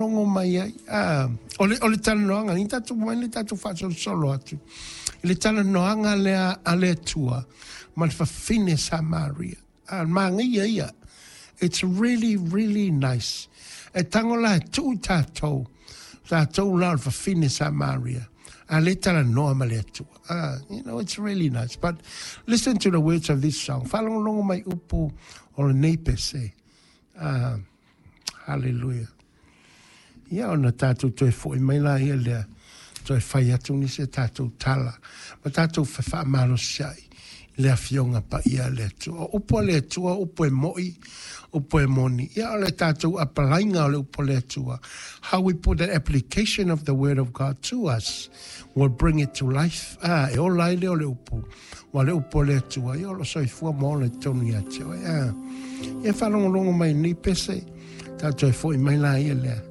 Logo mai ai. A, o le, o le talanoaga, ni tatou mai le tatou faasolosolo atu i le talanoaga lea a le Atua ma le fafine Samaria. A, manaia ia. It's really, really nice. E tago la e tuu i tatou, tatou la o le fafine Samaria, a le talanoa ma le Atua. Ah, it's really nice. But listen to the words of this song. Faalogologo mai upu o lenei pese. Ah, Hallelujah. Ia ona tatou toe foi mai la ia lea, toe fai atu nisi a tatou tala, ma tatou fefaamalosi ai i le Afioga Paia a le Atua. O upu a le Atua, o upu e moi, upu e moni. Ia o le tatou apalaiga o le upu a le Atua. How we put the application of the word of God to us will bring it to life. Ah, e ola ai lea o le upu. Ua le upu a le Atua, ia o lo soifua ma ola i totonu ia te oe. Ah, ia faalogologo mai nei pese, tatou e foi mai la ia lea.